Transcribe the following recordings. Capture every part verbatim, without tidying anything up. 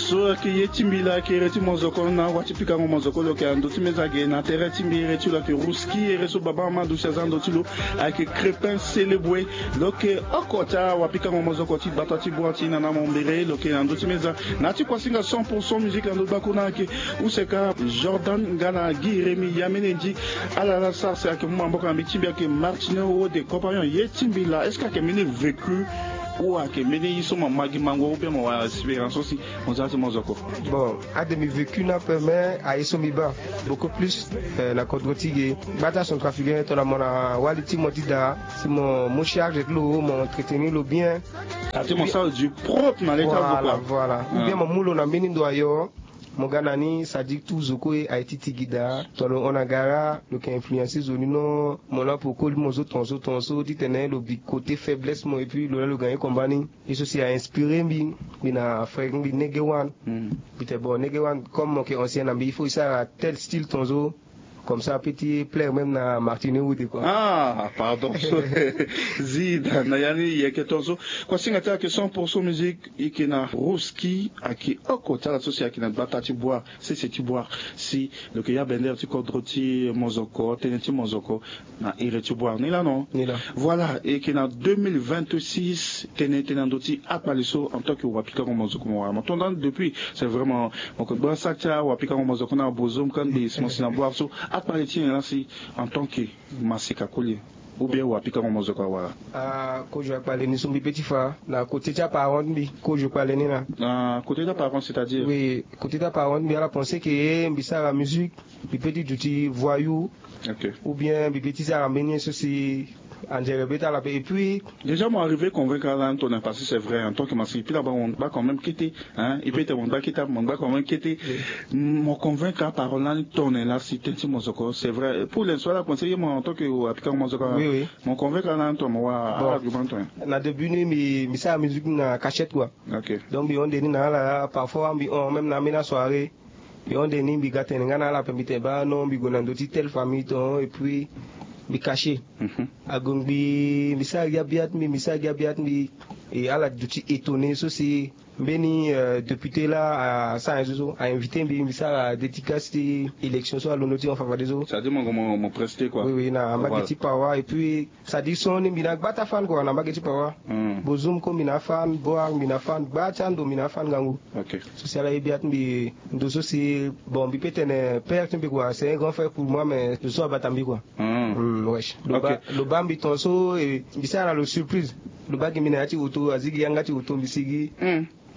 So ayeke ye ti mbi laa ayeke ere ti mozoko na wa ti pikango mozoko lo yeke na ndö ti meza ge na tere ti mbi ere ti lo ayeke Ruski ere so baba Amadou si aza na ndö ti lo. Ayeke Crépin Céléboué. Lo yeke oko ti awapikango mozoko ti gbata ti bua ti na na mombere lo yeke na ndö ti meza. Na ya ti kuasinga cent pour cent musique na ndö ti gbakuna ayeke use ka Jordan nga na Guy Rémy ya mbeni ndi. Ala la sara si ayeke mu maboko na mbi ti mbi ayeke Martino Wode compagnon ye ti mbi laa est-ce que ayeke mbeni vécu ou ayeke mbeni ye so mo ma gi mango ou bien mo wara expérience aussi mo za ti mozoko? Bon, ade mbi vécu ni ape mais aye so mbi baa beaucoup plus na kodro ti ge gbata centrafricain tongana mo na wali ti mo ti daa si mo mu charge ti lo mo entretenir lo bien. Ate mo sara du propre na leta zo kua. Voilà, ou bien mo mu lo na mbeni ndo ayo. Mo ga na ni sadi tout zo kue aye ti tigi daa tongana lo hon na gara lo yeke influencer zo ni non. Mo la pour koli mo so tongaso tongaso titene lo bi côté faiblesse mo et puis lo la lo gagner combat ni. Ye so si a inspiré mbi. Mbi na frère mbi nege wan. Mbi te bon nege wan comme mo yeke ancien na mbi il faut e sara tel style tongaso. Comme ça petit plaire même na Martino Wode kua. Ah pardon. Zi na na ya ni yeke tongaso. Kuasinga ti ayeke cent pour cent musique. E yeke na Ruski ayeke oko ti ala so si ayeke na gbata ti bua sese ti bua si lo yeke ya bender ti kodro ti mozoko tënë ti mozoko. Na iri ti bua ni laa non. Voilà e yeke na deux mille vingt-six tënë tënë na ndö ti akpali so en tant que wapikango mozoko mo wara mo tonda ni depuis c'est vraiment mo yeke gbasa ti awapikango mozoko na bozom kangbi si mo si na bua so akpali ti nyen laa si en tant que masika koli ou bien wapikango mozoko awara. Ah kozo akpali ni so mbi pe ti fa na côté ti aparent ti mbi kozo kpali ni na côté ti aparent c'est-à-dire oui côté ti aparent ti mbi ala pense que mbi sara musique mbi pe ti duti voyou ou bien mbi pe ti sara mbeni ye so si anzere be ti ala pe et puis déjà mo arrivé convaincre ala ni tongana parce que c'est vrai en tant que masika e pe na bango mo ngba quand même kete. Hein e pe tene mo ngba kete mo ngba quand même kete. Mo convaincre aparent lani tongana laa si tënë ti mozoko c'est vrai pour l'instant ala pense ye mo en tant que apika mozoko oui oui. Mo convaincre ala ni tongana mo wara argument tongana na début ni mbi sara musique na cachette kua. Donc mbi hon nde ni na ala parfois mbi hon même na ambeni asoirée. Mbi hon nde ni mbi ga tene nga na ala ape mbi tene baa non mbi gue na ndö ti telle famille ton et puis mbi cacher. Ague ngbii mbi sara gi abia ti mbi mbi sara gi abia ti mbi. E ala duti étonné so si mbeni député laa asara nyen so so a invité mbi mbi sara dédicace ti élection so alondo ti hon fafade so. C'est à dire mo gue mo preste kua oui oui na mbage ti pawa et puis c'est à dire so ni mbi na gba ti afan kua na mbage ti pawa. Bozum ko mbi na afan boar mbi na afan gba ti ando mbi na afan ngangu. So si ala ye bia ti mbi ndo so si bon mbi pe tene père ti mbi kua c'est un grand frère pour moi mais ndo so abata mbi kua. Wesh lo baa mbi ton so mbi sara na lo surprise. Lo baa gi mbi na ya ti auto azi gi yanga ti auto mbi sigi.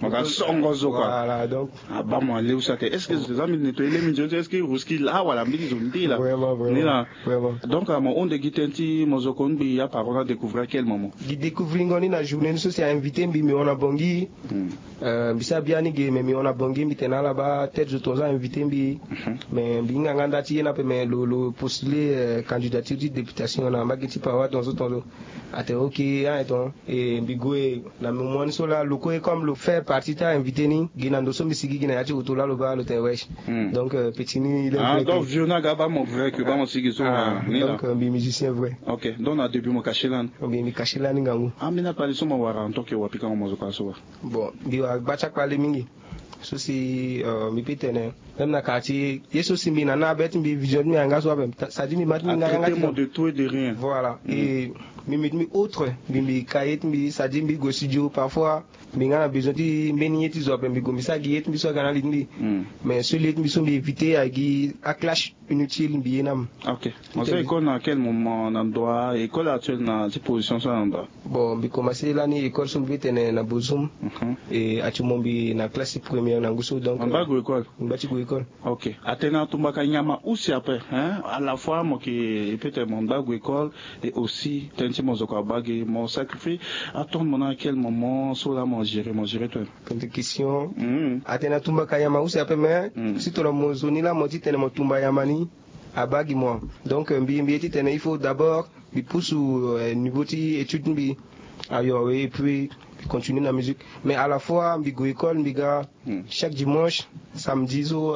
Mo ga songo zo kua. Voilà donc abaa mo aleu sake est-ce que zo ti eza mbi neto ye le mbi nzoni so est-ce que ruski laa wala mbeni zo nde laa? Ni laa. Donc mo hon nde gi tënë ti mozoko ni mbi ya parole a découvrir à quel moment? Gi découvrir ngo ni na journée ni so si a invité mbi mbi hon na bongi. Mbi sara biani ge mais mbi hon na bongi mbi tene ala baa tête zo tongaso a invité mbi. Mais mbi hinga nga nda ti ye ni ape mais lo lo postuler candidature ti députation na mbage ti pawa tongaso tongaso. Atene ok. Aye ton e mbi gue na moment ni so laa lo kue comme lo fait partie ti a invité ni gi na ndo so mbi sigi gi na ya ti auto laa lo baa lo tene wesh. Donc petit ni il est vrai donc que vieux ni aga baa mo vrai que baa mo sigi so. Donc mbi musicien vrai. Ok donc na début mo cacher lani? Mbi mbi cacher lani ngangu. Ambeni akpali so mo wara en tant que wapikango mo zo kua so wa? Bon mbi wara gba ti akpali mingi. So si mbi pe tene même na quartier ye so si mbi na na abe ti mbi vision ti mbi ayanga so ape. Sadi mbi ma ti mbi nga yanga ti mo de tout et de rien. Voilà e mbi mbi ti mbi autre mbi mbi ka ye ti mbi sadi mbi gue studio parfois mbi nga na besoin ti mbeni ye ti zo ape mbi gue mbi sara gi ye ti mbi so aga na li ti mbi. Mais so li ye ti mbi so mbi éviter agi aclash inutile mbi ye na mo. Ok. Mo za école na quel moment na ndoa école actuelle na ti position so na ndoa? Bon mbi commencer lani école so mbi pe tene na bozum. E actuellement mbi na classe première na ngu so donc mba gue école. Mba ti gue école. Ok. Atene atumbaka nyama usi ape hein à la fois mo ke e pe tene mo mba gue école. Et aussi tënë ti mo zo kua baa gi mo sacrifier. Attendre mo na quel moment so laa mo gérer mo gérer toi? Question. Atene atumbaka nyama usi ape mais si tongana mo zo ni laa mo ti tene mo tumba nyama ni. Abaa gi mo donc mbi mbi ye ti tene il faut d'abord mbi pusu niveau ti étude ti mbi. Ayo et puis mbi continue na musique mais à la fois mbi gue école mbi ga chaque dimanche samedi so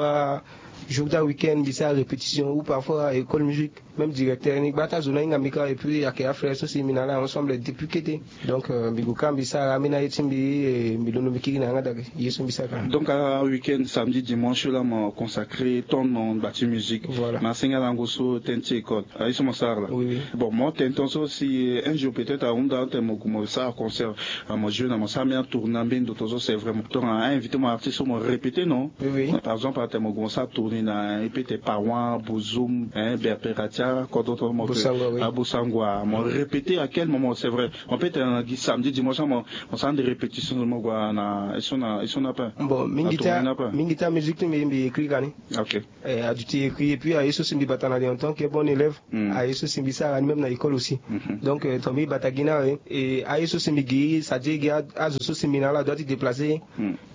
jour ti aweek-end mbi sara répétition ou parfois école musique. Même directeur ni gba ti azo ni ahinga mbi kâ, et puis ayeke afrère so si mbi na ala ensemble depuis kete. Donc mbi gue kâ mbi sara ambeni aye ti mbi. Mbi londo mbi kiri na yanga daa. Ye so mbi sara kâ. Donc aweek-end samedi dimanche so laa mo consacré ton na ngba ti musique. Voilà. Na senga lango so tënë ti école aye so mo sara laa. Bon mo tënë ton so si un jour peut-être ahunda tene mo gue mo sara concert, mo joue na mo sara ambeni atourné na mbeni ndo ton so c'est vraiment ton a invité mo artiste so mo répété non? Par exemple atene mo gue mo sara tourné na epete pawan bozum, berperatia kodro ton mo bosangua mo répété à quel moment c'est vrai? Mo peut tene na gi samedi dimanche mo sara nde répétition mo gue na eso na eso na pe. Bon mingi ti amusique ti mbi mbi écrit kani. Ok. Aduti écrit et puis aye so si mbi bata na li en tant que bon élève. Aye so si mbi sara ni même na école aussi. Donc ton mbi bata gi na awe. Aye so si mbi gi sa di gi azo so si mbi na ala doit ti déplacer.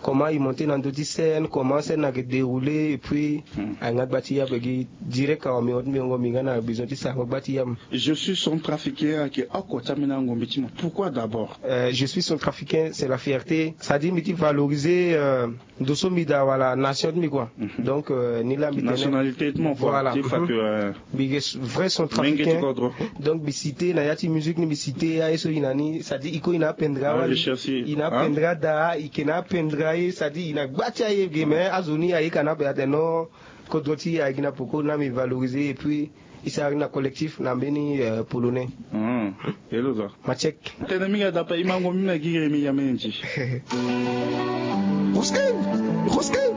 Comment il montait na ndö ti scène comment scène ayeke déroulé et puis ayeke nga gba ti yabe gi direct awa mbi hon ti mbi hongo mbi nga na besoin ti sarango gba ti yabe. Je suis centrafricain ayeke oko ti ambeni angombe ti mo pourquoi d'abord? Je suis centrafricain c'est la fierté sa di mbi ti valoriser ndo so mbi daa wala nation ti mbi kua. Donc ni laa mbi tene nationalité ti mo kua ti fa que mbi yeke vrai centrafricain. Donc mbi cité na ya ti musique ni mbi cité aye so i na ni sa di i ko i na apendra wali i na apendra daa i ke na apendra ye sa di i na gba ti aye ge mais azo ni aye ka na ape atene non. Kodro ti e aye gi na poko na mbi valoriser et puis i sara gi na collectif na mbeni polonais. Matiek. Tene mingi adape i mango mbi na gi remi ya mene ti. Ruskin. Ruskin.